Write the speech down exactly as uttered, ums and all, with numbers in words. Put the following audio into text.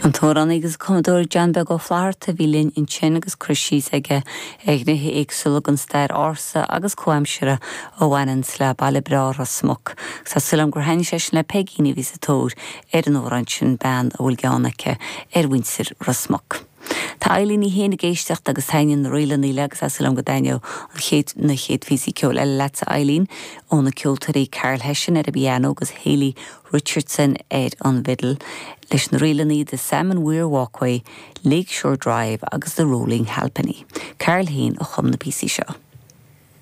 An t-amhránaí agus cumadóir John Beag Ó Flatharta a bhí linn ansin agus cur síos aige ar ghnéithe éagsúla den stair ársa agus comhaimseartha a bhaineann le baile breá Ros Muc. Tá súil agam gur thaitnigh sé sin le pé duine a bhí sa tóir ar an amhrán sin bean a bhfuil gean aici ar mhuintir Ros Muc. Tá Eileen í féin ag éisteacht agus taitníonn na ríleanna léi agus tá súil agam go dtaitneoidh an chéad na chéad phíosaí ceoil eile leatsa Eileen ó na ceoltóirí Carl Hession ar an bpianó agus Hayley Richardson ar an bhfidil leis na ríleanna The Salmon Weir Walkway, Lakeshore Drive agus The Rolling Halfpenny. Carl féin a chum na píosaí seo.